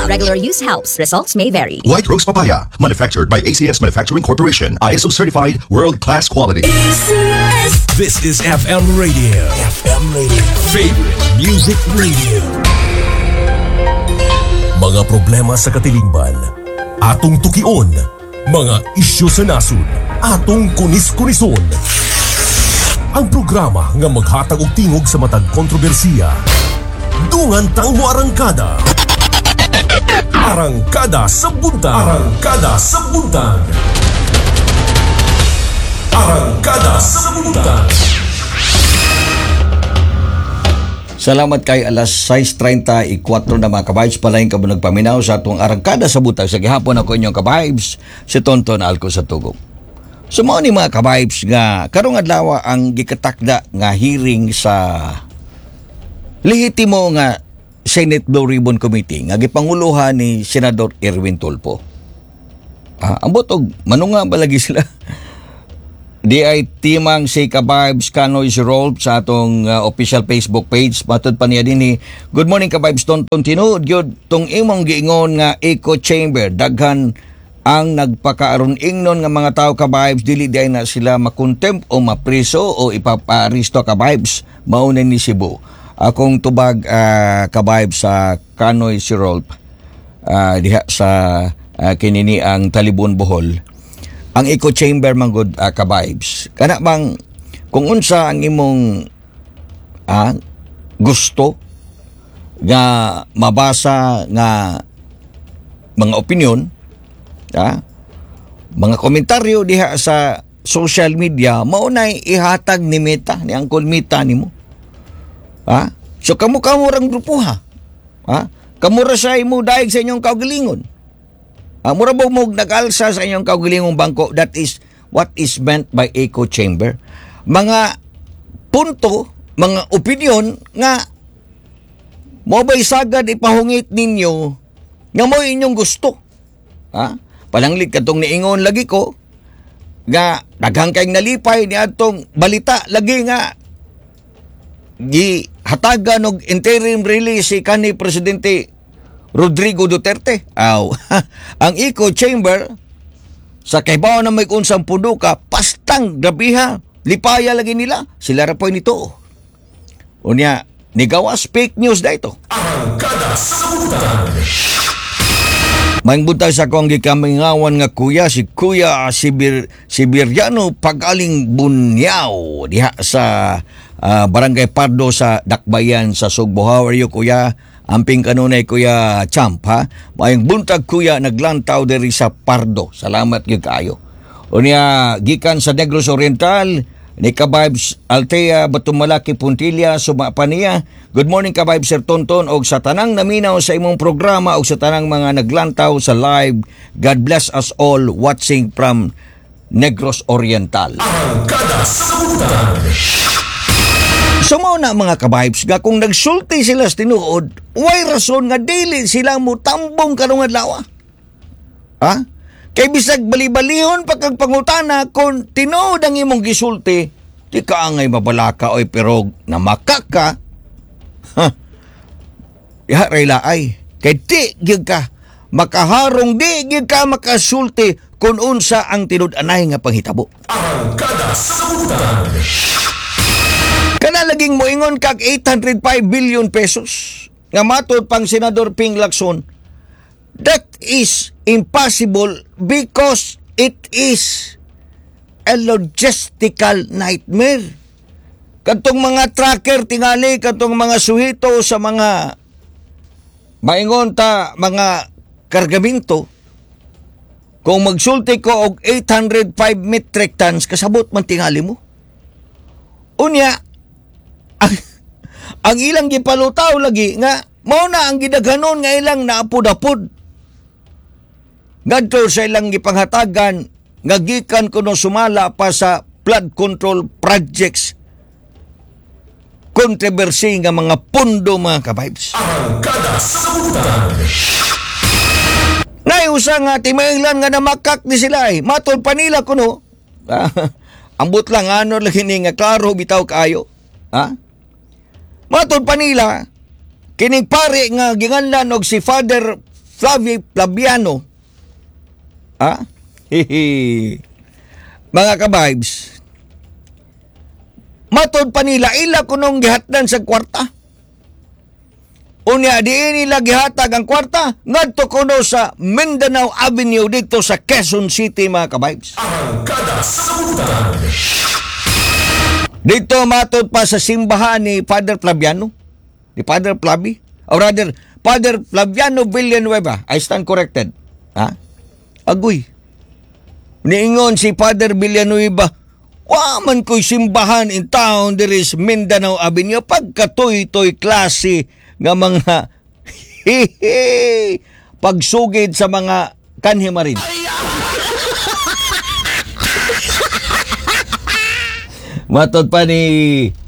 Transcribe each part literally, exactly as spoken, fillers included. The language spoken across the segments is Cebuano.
Regular use helps. Results may vary. White Rose Papaya, manufactured by A C S Manufacturing Corporation, I S O certified, world-class quality. This is F M Radio. F M Radio. Favorite Music Radio. Mga problema sa katilingban, atong tukion. Mga isyu sa nasod, atong kunis-kunison. Ang programa nga maghatag og tingog sa matag kontrobersiya. Dungan tang moarangkada. Arangkada sa Buntag. Arangkada sa Buntag. Arangkada sa Buntag. Salamat kay alas sais trenta y kuwatro na, mga ka-vibes. Palain ka mo nagpaminaw sa atong Arangkada sa Buntag. Sa gihapon, ako inyong ka-vibes, si Tonton Alco sa Tugong. So mao ni, mga ka-vibes, nga karong adlaw ang gikatakda nga hearing sa lehitimo nga Senate Blue Ribbon Committee nga gipanguluhan ni Senador Erwin Tulfo. Ah, ambot og manunga ba lagi sila. Di ay timang si Ka-Vibes Kanoy si Rolf sa atong uh, official Facebook page. Matod pa niya din ni, "Good morning, Ka-Vibes Tonton. Tinuod gyud tong imong giingon nga echo chamber. Daghan ang nagpakaaron ingnon nga mga tao, Ka-Vibes. Dili di ay na sila makontempt o mapriso o ipaparisto, Ka-Vibes." Mao na ni Cebu. Akong tubag, uh, Ka-Vibes sa Kanoy si Rolf uh, diha sa uh, kinini ang Talibon, Bohol, ang echo chamber manggod, uh, ka-vibes, kana bang kung unsa ang imong ah, gusto nga mabasa nga mga opinion, ah, mga komentaryo diha sa social media, mao nay ihatag ni Meta, ni Uncle Meta nimo, ha? So kamo kamo rang grupo, ha ha kamo ra sa imo daig sa inyong kaugalingon. Ah, mura ba mo nag-alsa sa inyong kaugalingong bangko? That is what is meant by echo chamber. Mga punto, mga opinion nga mo ba'y sagad ipahungit ninyo nga mo inyong gusto. Ha? Pananglit katong niingon lagi ko nga daghang kayong nalipay ni atong balita lagi nga gihatagan og interim release si kanhi Presidente Rodrigo Duterte. Aw, ang echo chamber sa kahibaw na may unsang pundo ka, pastang grabiha, lipaya lagi nila. Sila ra po nito. Unya, nigawas fake news da ito. Arangkada sa Buntag. Maayong buntag sa akong gikamingawan nga kuya, si Kuya Sibir, Sibiriano Pagaling Bunyaw diha sa ah, Barangay Pardo sa Dakbayan sa Sugbo. How are you, Kuya? Amping kanunay, Kuya Champ, ha. Maayong buntag, Kuya, naglantaw diri sa Pardo. Salamat gyud kaayo. Unya gikan sa Negros Oriental ni Ka-Vibes Altea Batumalaki Puntilla, suma pa niya. "Good morning, Ka-Vibes Sir Tonton og sa tanang naminaw sa imong programa og sa tanang mga naglantaw sa live. God bless us all watching from Negros Oriental." Arangkada sa Buntag. So mao na, mga ka-vibes, nga kung nagsulti sila sa tinuod, way rason nga dili sila mo tambong karong adlaw. Ha? Kay bisag bali-balihon pa kag pangutana, kung tinuod ang imong gisulti, di ka angay mabalaka oy, pero namakak ka. Ha? Diha ray laay. Kay di gyud ka makaharong, di gyud ka makasulti kung unsa ang tinud-anay nga panghitabo. Arangkada sa Buntag. Kana laging moingon kag eight hundred five billion pesos nga matod pang Senador Ping Lacson, that is impossible because it is a logistical nightmare. Katong mga tracker tingali, katong mga suhito sa mga maingon ta mga kargaminto, kung magsulti ko og eight hundred five metric tons, kasabot man tingali mo. Unya, ang, ang ilang gipalutaw lagi nga mao na ang gidaghanon nga ilang naapod-apod ngadto sa ilang gipanghatagan nga gikan kuno sumala pa sa flood control projects controversy nga mga pundo, mga ka-vibes. Arangkada sa Buntag. Naiusa nga timainglan nga namakak ni sila ay. Matod pa nila kuno. Ah, ambot lang ano lagi ni nga klaro bitaw kaayo. Ha? Matod pa nila kining pare nga ginganlan og si Father Flavi Flaviano. Ah? Hihi. Mga ka-vibes, matod pa nila ila kunong gihatdan sa kwarta. Unya diin nila gihatag ang kwarta ngadto kuno sa Mindanao Avenue dito sa Quezon City, mga ka-vibes. Arangkada sa Buntag. Dito matod pa sa simbahan ni Father Flaviano, ni Father Flavi, or rather, Father Flaviano Villanueva. I stand corrected. Ha? Agoy. Niingon si Father Villanueva, "Wa man ko'y simbahan in town there is Mindanao Avenue." Pagkatoy-toy klase nga mga hihi pagsugid sa mga kanhimarin. Matod pa ni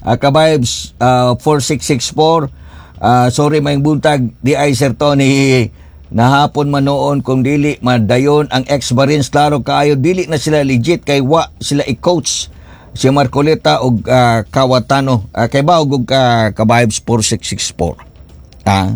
uh, Kabibes uh, four six six four, uh, sorry, may buntag di ay Sir Tony, nahapon man noon kung dili madayon ang ex-Marines, klaro kaayo dili na sila legit kay wa sila i-coach si Marcoleta og uh, Kawatano. Uh, kay ba og uh, Kabibes four six six four, ah.